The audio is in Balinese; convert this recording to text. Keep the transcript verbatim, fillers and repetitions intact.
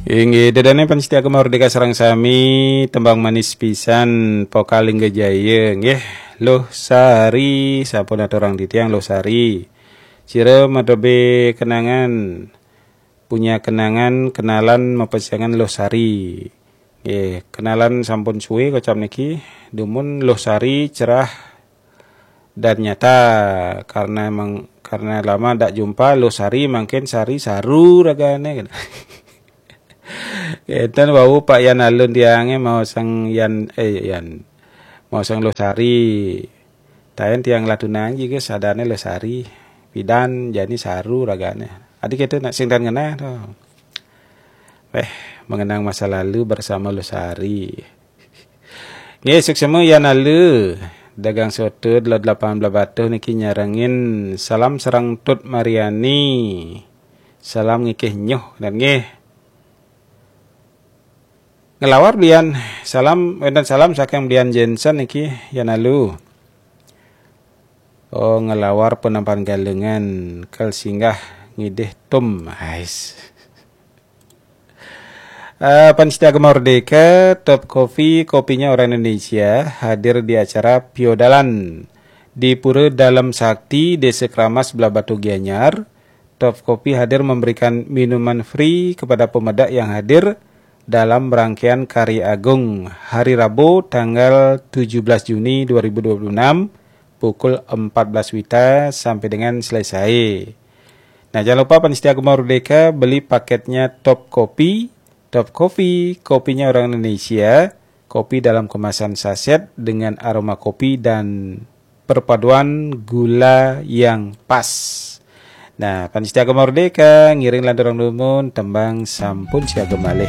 Inggih, ida dané pamiarsa Gema Merdeka sareng sami, tembang manis pisan, Pokal Lingga Jaya, nggih. Luh Sari, sampun aturang titiang Luh Sari. Sira madebé kenangan, punya kenangan, kenalan mapasiangan Luh Sari. Nggih, kenalan sampun suwé kocap niki, dumun Luh Sari cerah dan nyata, karena emang, karena lama ndak jumpa, Luh Sari mangkin sari saru ragané. Enten wau Pak Yan Alun tiangé maosang Yan, eh, Yan. Maosang Luh Sari. Taén tiang Latunang juga sadané Luh Sari. Pidan jani saru ragané. Adi kéto nak sing tan ngenah to. Eh, mengenang masa lalu bersama Luh Sari. Nggih, suksma Yan Alun. Dagang soto Delod Lapangan Blahbatuh niki nyarengin salam sareng Tut Mariani. Salam ngikih nyuh dan nggih. Ngelawar belian salam, wénten salam saking belian Jensen niki, Yan Alun. Oh, ngelawar Penampakan Galungan, kal singgah ngidih tum. Ais. Eh, pamiarsa Gema Merdeka, Top Coffee, kopinya orang Indonesia, hadir di acara Piodalan di Pura Dalem Sakti, Desa Keramas, Blahbatuh, Gianyar. Top Coffee hadir memberikan minuman free kepada pemedak yang hadir dalam rangkaian Karya Agung, hari Rabu, tanggal tujuh belas Juni dua ribu dua puluh enam, pukul empat belas wita sampai dengan selesai. Nah, jangan lupa pamiarsa Gema Merdeka, beli paketnya Top Coffee. Top Coffee, kopinya orang Indonesia, kopi dalam kemasan saset dengan aroma kopi dan perpaduan gula yang pas. Nah, pamiarsa Gema Merdeka, ngiring lanturang dumun, tembang sampun siaga malih.